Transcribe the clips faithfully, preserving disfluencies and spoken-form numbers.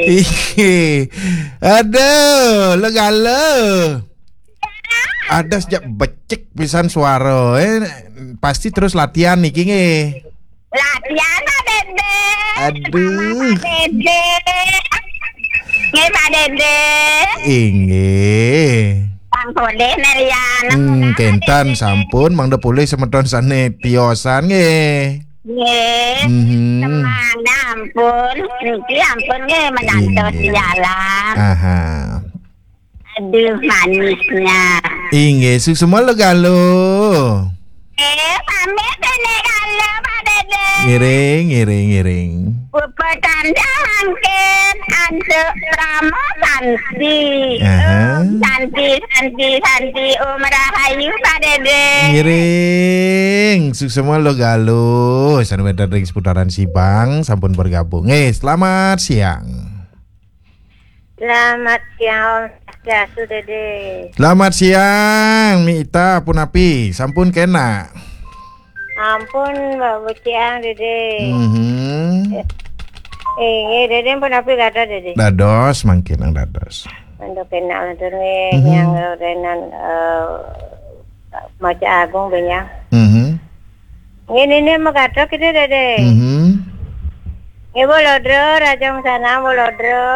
Ih, aduh, lo galo. Ada sejak becik pisan suara, eh. Pasti terus latihan niki nggih. Latihan, Pak Dede. Aduh. Sama Pak Dede. Nggih, Pak Dede. Inggih. Bang Polih Merian. Hmm, kentan sampun, mangda polih semeton sane tiosan nggih. Nggih. Mhm. Semana ampun. Niki ampun nggih, menantu sialan. Aha. Aduh, manisnya. Inggih, suksma lo galo. Eh, pamit, Nenek Galo, Pak Dede. Ngiring, ngiring, ngiring. Pupa tanda angkin antuk Pramo Santi. Aha. Om Santi, Santi, Santi, Om Rahayu, Pak Dede. Ngiring, suksma lo galo. Sane wenten ring seputaran Sibang, sampun bergabung. Eh, selamat siang. Selamat siang, Om Swastiastu, Dede. Selamat siang, Mi Ita, punapi? Sampun kena? Ampun, Mbak Buciang, Dede. Mhm. Eh, eh, Dede, punapi kata, Dede? Dados, mangkin ang dados. Untuk kena lantur nggih, mhm, yang renan, eh, Maca Agung, benyang. Mhm. Nggih, nini magathok kita, Dede. Mhm. Nggih, Bolodro, Raja Sana, Bolodro.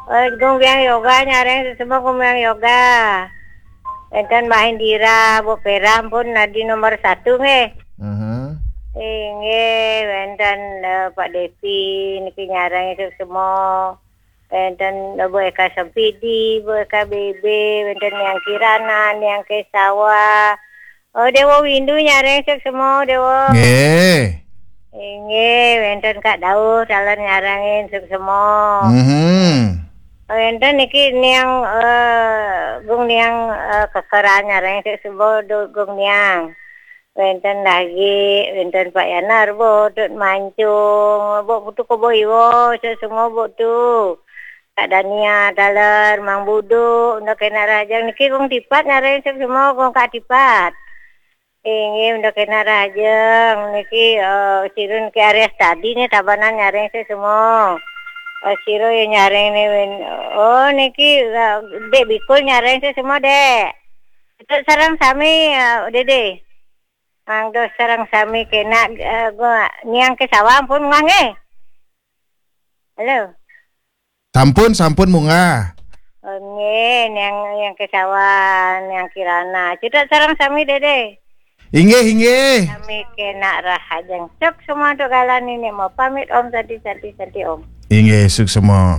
Eh, Gung Biang Yoga, nyareng sesama Gung Biang Yoga. Wenten Mbah Indira, Bu Pera pun nadi nomor satu, nggih. Mhm. Inggih, wenten, eh, Pak Devi, niki nyareng sesama. Wenten Bu Eka Sempidi, Bu Eka B B, wenten Niang Kirana, Niang Kesawa. Oh, Dewa Windu nyareng suksma, Dewa. Nggih. Inggih, wenten Kak Dauh, taler nyarengin suksma. Mhm. Wenten niki Niang, eh, Gung Niang, eh, Kekeran nyareng suksma, do-, Gung Niang. Wenten lagi, wenten Pak Yanar, Bu Tut Mancung, Bu Putu Kobo Iwo, suksma Bu Tu. Kak Dania, taler, Mang Budu, unda kena rahajeng niki Gung Tipat nyareng suksma, Gung Kak Tipat. Inggih, unda kena rahajeng niki, eh, sirun ke Arya Stadi nih Tabanan nyareng suksma. Eh, sira ya nyareng nih, win-, oh, niki, eh, Dek Bikul nyareng suksma, Dek. Itu sareng sami, eh, Dede. Mangda sareng sami kena, eh, gua Niang Kesawa pun munggah nggih. Halo. Sampun, sampun munggah. Oh, nggih, Niang, Niang Kesawa, Niang Kirana. Cedhak sareng sami, Dede. Inggih, inggih. Sami kena rahajeng. Suksma untuk galan ini mau pamit, Om, Santi, Santi, Santi, Om. Inggih, suksma.